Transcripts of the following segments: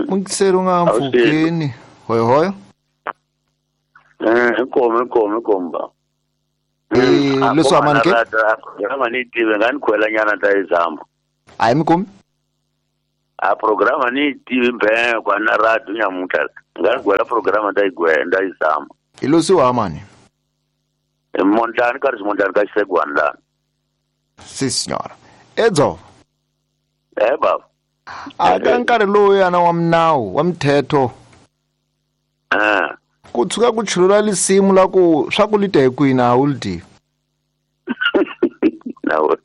Mungiseri u nga mpfukeni hoyohoyo. Inkomo ba. Leswi amani ke? Programa ni tive nga ni khwela nyana ta izama. A hi mi kumi? A programa ni tive mbhe kwa na radio nyamuntlha. Nga ni gwela programa ta igwenda izama. Hi losiwa amani. Mondlani ka Mondlani ka Xisegwana la. Si signora. Edzo. Baba. Aka nkarhi lowu yana wa minawu wa mithetho. Ku tshuka ku chulula lisimu la ku swa ku lita hi kwini a wu li tivi. Nawu.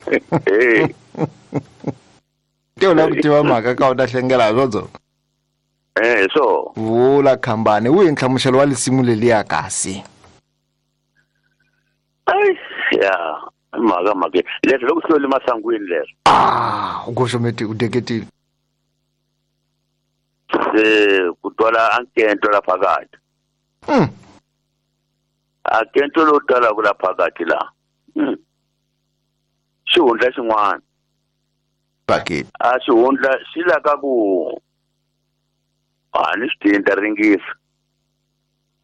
Te u lava ku tiva mhaka ka u ta hlengela hi swodzo. So. Vula khambani wihi nhlamuselo wa lisimu leliya kasi? Ai ya mhaka mhaka leswi loko swi le masangwini leswi. U goxometi u deketile. Se ku twala ankento la phakathi. Ankento lo twala ku la phakathi la. Xihundla xin'wana. Bakit. A xihundla xi la ka ku a ni swi tinta ringisa.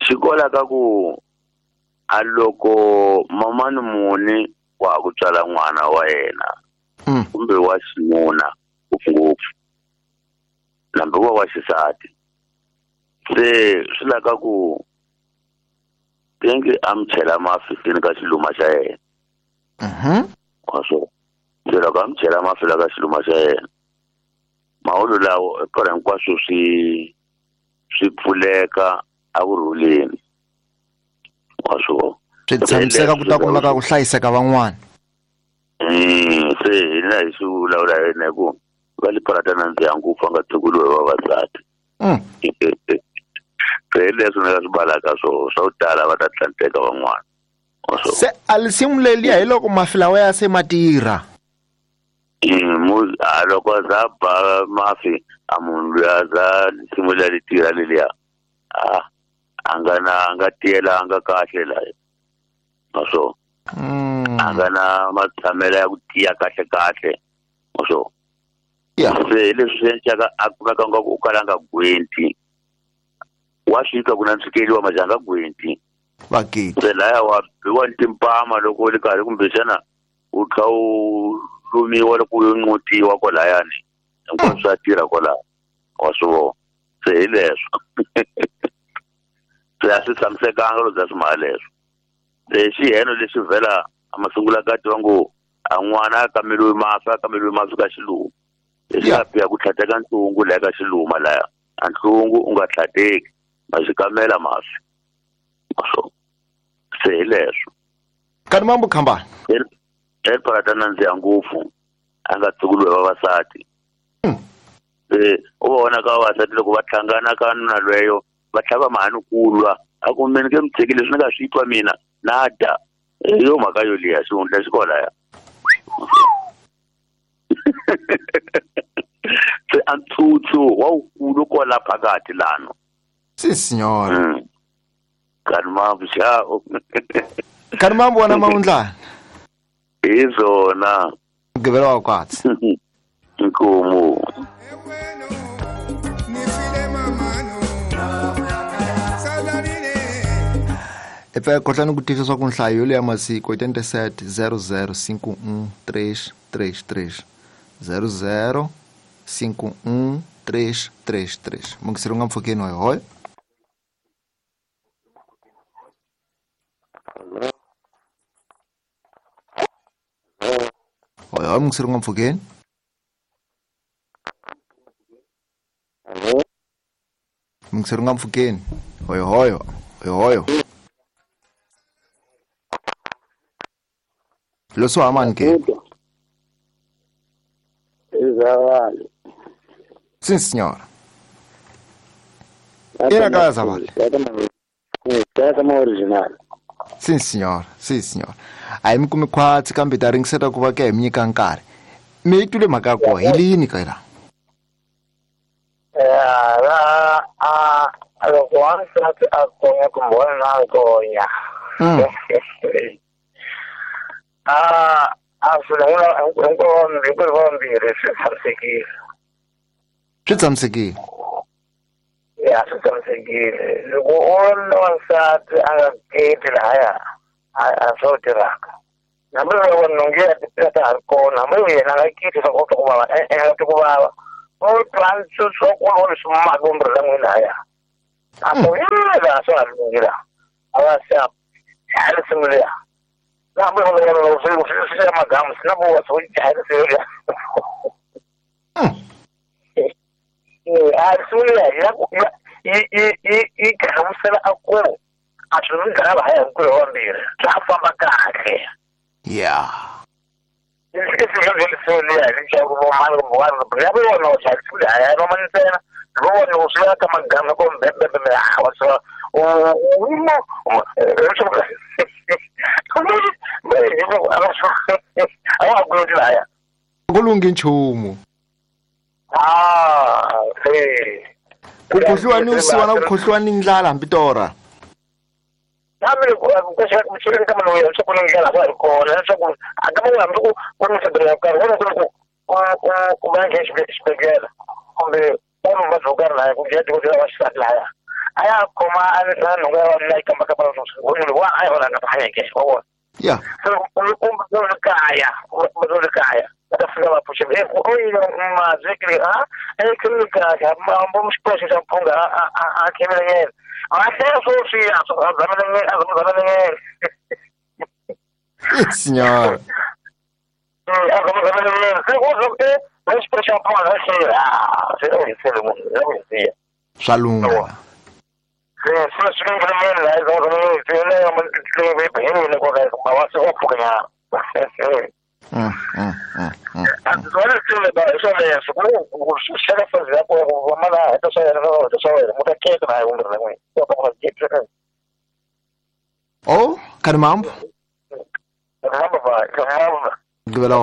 Xi kola ka ku a loko mamani muni wa ku tswala n'wana wa yena kumbe wa xinuna ngopfungopfu nambe wa xisati se swi la ka ku tengi a mi chela mafi sini ka xiluma xa yena. Wa swo se loko a mi chela mafi la ka xiluma xa yena maholo lawo eka hinkwaswo swi pfuleka a ku rhuleni. Wa swo swi tshamiseka ku ta kumeka ku hlayiseka van'wana. Se hina hi swi vulavula yena hi ku va li parata na ndzi ya ngopfu a nga tshukuliwe vavasati. Se hi leswi ni nga swi balaka swo swa ku tala va ta tlanteka van'wana. Se a lisimu leliya hi loko mafi lawa ya se ma tirha. A loko za ba mafi a munhu luya za lisimu liya li tirha leliya a nga na a nga tiyelanga kahle la. Maswo. A nga na matshamelo ya ku tiya kahle kahle. Maswo. Se leswi swi endlaka a kumeka nga ku u kala nga gwenti. Wa swi twa ku na ntshikelelo wa majanga gwenti. Bakiti. Se laya wa biwa timpama loko u ri karhi kumbexana u tlha u lumiwa loko u nqutiwa kwalayani. Hinkwaswo swa tirha kwalaya. Wa swi vona. Se hi leswo. Se a swi tshamisekanga loko bya swimhala leswo. Se xiheno lexi vhela a masungula ka tiva ngo a n'wana a kameriwe mafi a kameriwe mafi ka xiluma. Leswi a biha ku tlhateka ntungu laya ka xiluma laya. A ntungu u nga tlhateki ma xi kamela mafi. So se hi leswo. Kani mambo khambani. Parata na ndzi ya ngopfu a nga tsukuliwe vavasati. Se u vona ka vavasati loko va hlangana ka nuna lweyo va tlhava mahani ku lwa a ku mina ke mi tshiki leswi ni nga swi twa mina na dya. Hi yo mhaka yo liya xihundla xi kwalaya. Se a ntsutsu wa wukulu kwala phakathi lano. Si signora. Kani mambo xao. Kani mambo wana maundlana. Hi swona. Mugqivela wa kwatsi. Inkomo. Epfa khohlani ku tivisa ku nhlayo ya masiku 87 00 51 333 00 51 333. Mungiseri nga mpfukeni wa hoy. Hoy hoy mungiseri nga mpfukeni. Mungiseri nga mpfukeni. Hoy hoy hoy hoy. Loso amani ke. Izavale. Sim senhora. Era casa vale. Tata original. Sim senhora, sim senhora. Aí mi kumi khwatsi kambe ta ringiseta ku va ke hi mi nyika nkarhi. Mi twile mhaka ya kona hi lini ka la? Loko wansati a konya kumbe wanuna a konya. A swilo hinkwavo vambirhi swi tshamisekile. Swi tshamisekile. La swi tshamisekile loko u ri na wansati a nga keti lahaya a swo tirhaka hambi loko nhonge ya tipila ta ha ri kona hambi yena a nga keti swa ku twa ku vava e-e a nga twi ku vava u twa swa ku vona swi maka kumbe la n'wina haya a ku la swa ha lunghi la a va se a risimu liya na hambi loko swi ya magamu swi na ku swi dlaya risimu liya a risimu liya ya yi hlamusela a ku a swi mi dlaya haya hinkwerhu vambirhi swa famba kahle. Yeah. Ku lunghi nchumu. Ku khohliwa ni vusiwana, ku khohliwa ni ndlala hambi torha. Hambi ku ka maloyi leswaku ni ndlela swa ha ri kona leswaku a ka man'we hambi ku ku ri mixabelo ya karhi wona ku ri ku ku va nghena xibedhlele kumbe va ni vuvabyi byo karhi lahaya ku nghena dokodela wa xisati lahaya a ya khoma na nhonga ya wanuna yi kamba kamba wa a ya vona nga hanyeke wa vona. Yeah. So u kaya u kaya va ta fika va pfuxa u yile mazwekile a eklinikaka mambo xipoxo xa mphunga a khemele yena Senhora. Swa lungha. Oh, kani mambo? Mambo. Gibela.